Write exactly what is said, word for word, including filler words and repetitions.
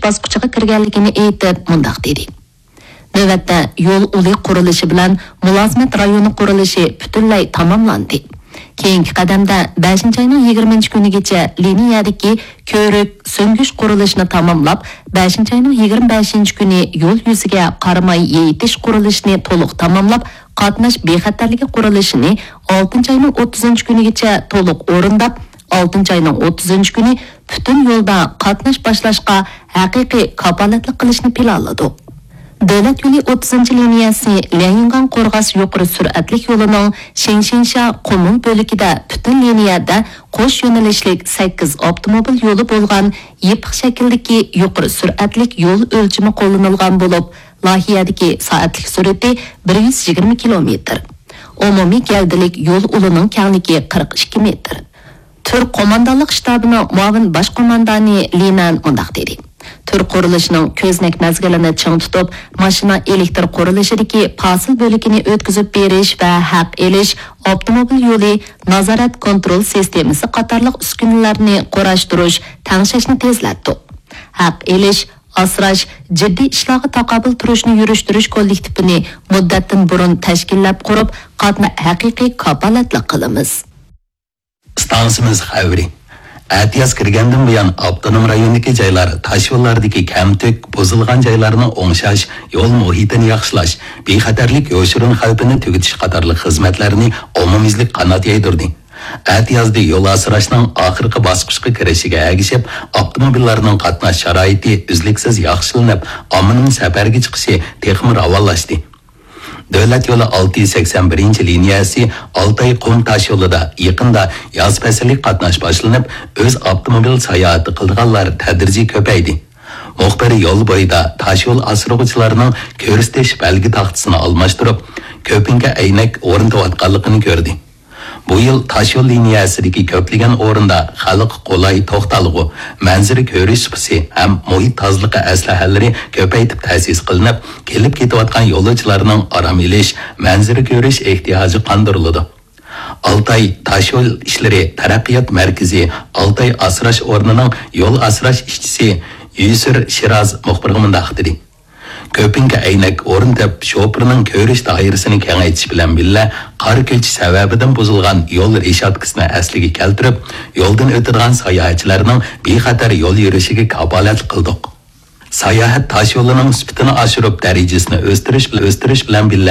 باسقۇچىغا كىرگەنلىكىنى ئېيتىپ، مۇنداق دېدى: نۆۋەتتە يول ئۇلى قۇرۇلۇشى بىلەن مۇلازىمەت رايونى قۇرۇلۇشى پۈتۈنلەي تاماملاندى. كېيىنكى قەدەمدە بەشىنچى ئاينىڭ يىگىرمىنچى كۈنىگىچە لىنىيەدىكى كۆۋرۈك سۈڭگۈچ قۇرۇلۇشىنى تاماملاپ، بەشىنچى ئاينىڭ يىگىرمە بەشىنچى كۈنى يول يۈزىگە قاراماي يېيىتىش قۇرۇلۇشىنى تولۇق تاماملاپ، قاتناش بىخەتەرلىكى قۇرۇلۇشىنى ئالتىنچى ئاينىڭ ئوتتۇزىنچى كۈنىگىچە تولۇق ئورۇنداپ، ئالتىنچى ئاينىڭ ئوتتۇزىنچى كۈنى پۈتۈن يولدا قاتناش باشلاشقا ھەقىقىي كاپالەتلىك قىلىشنى پىلانلىدۇق. دۆلەت يولى ئوتتۇزىنچى لىنىيەسى ليەنگاڭ قورغاس يۇقىرى سۈرئەتلىك يولىنىڭ شېڭشىنشيا قۇمۇل بۆلىكىدە پۈتۈن لىنىيەدە قوش يۆنىلىشلىك سەككىز ئاپتوموبىل يولى بولغان يېپىق شەكىلدىكى يۇقىرى سۈرئەتلىك يول ئۆلچىمى قوللىنىلغان بولۇپ، لايىھەدىكى سائەتلىك سۈرئىتى بىر يۈز يىگىرمە كىلومېتىر. ئومۇمىي گەۋدىلىك يول ئۇلىنىڭ كەڭلىكى قىرىق ئىككى مېتىر. تۈر قوماندانلىق شتابىنىڭ مۇئاۋىن باش قوماندانى لى نەن مۇنداق دېدى: تۈر قۇرۇلۇشىنىڭ كۆزنەك مەزگىلىنى چىڭ تۇتۇپ، ماشىنا ئېلېكتر قۇرۇلۇشىدىكى پاسىل بۆلىكىنى ئۆتكۈزۈپ بېرىش ۋە ھەق ئېلىش، ئاپتوموبىل يولى نازارەت كونترول سىستېمىسى قاتارلىق ئۈسكۈنىلەرنى قۇراشتۇرۇش، تەڭشەشنى تېزلەتتۇق. ھەق ئېلىش، ئاسراش، جىددىي ئىشلارغا تاقابىل تۇرۇشنى يۈرۈشتۈرۈش كوللېكتىپىنى مۇددەتتىن بۇرۇن تەشكىللەپ قۇرۇپ، قاتنا-، ھەقىقىي كاپالەتلىك قىلىمىز. ئىستانسىمىز خەۋىرى. ئەتىياز كىرگەندىن بۇيان، ئاپتونوم رايوندىكى جايلار تاشيوللاردىكى كەمتۈك، بۇزۇلغان جايلارنى ئوڭشاش، يول مۇھىتىنى ياخشىلاش، بىخەتەرلىك يوشۇرۇن خەۋپىنى تۈگىتىش قاتارلىق خىزمەتلەرنى ئومۇميۈزلۈك قانات يايدۇردى. ئەتىيازدا يول ئاسراشنىڭ ئاخىرقى باسقۇچقا كىرىشىگە ئەگىشىپ، ئاپتوموبىللارنىڭ قاتناش شارائىتى ئۈزلۈكسىز ياخشىلىنىپ، ئاممىنىڭ سەپەرگە چىقىشى تېخىمۇ راۋانلاشتى. دۆلەت يولى ئالتە يۈز سەكسەن بىرىنچى لىنىيەسى ئالتاي قۇم تاش يولىدا يېقىندا ياز پەسلىك قاتناش باشلىنىپ، ئۆز ئاپتوموبىل ساياھىتى قىلىدىغانلار تەدرىجىي كۆپەيدى. مۇخبىر يول بويىدا تاش يول ئاسرىغۇچىلارنىڭ كۆرسىتىش بەلگە تاختىسىنى ئالماشتۇرۇپ، كۆپۈنكە ئەينەك ئورنىتىۋاتقانلىقىنى كۆردى. بۇ يىل تاش يول لىنىيەسىدىكى كۆپلىگەن ئورۇندا خەلققە قولاي توختالغۇ، مەنزىرە كۆرۈش سۇپىسى ھەم مۇھىت تازىلىقى ئەسلىھەلىرى كۆپەيتىپ تەسىس قىلىنىپ، كېلىپ كېتىۋاتقان يولۇچىلارنىڭ ئارام ئېلىش، مەنزىرە كۆرۈش ئېھتىياجى قاندۇرۇلىدۇ. ئالتاي تاش يول ئىشلىرى تەرەققىيات مەركىزى ئالتاي ئاسراش ئورنىنىڭ يول ئاسراش ئىشچىسى يۈسۈر شىراز مۇخبىرغا مۇنداق دېدى: كۆپۈنكە ئەينەك ئورنىتىپ، شوپۇرنىڭ كۆرۈش دائىرىسىنى كېڭەيتىش بىلەن بىللە، قار كۆچۈش سەۋەبىدىن بۇزۇلغان يول رېشاتكىسىنى ئەسلىگە كەلتۈرۈپ، يولدىن ئۆتىدىغان ساياھەتچىلەرنىڭ بىخەتەر يول يۈرۈشىگە كاپالەتلىك قىلدۇق. ساياھەت تاش يولىنىڭ سۈپىتىنى ئاشۇرۇپ، دەرىجىسىنى ئۆستۈرۈش، ئۆستۈرۈش بىلەن بىللە،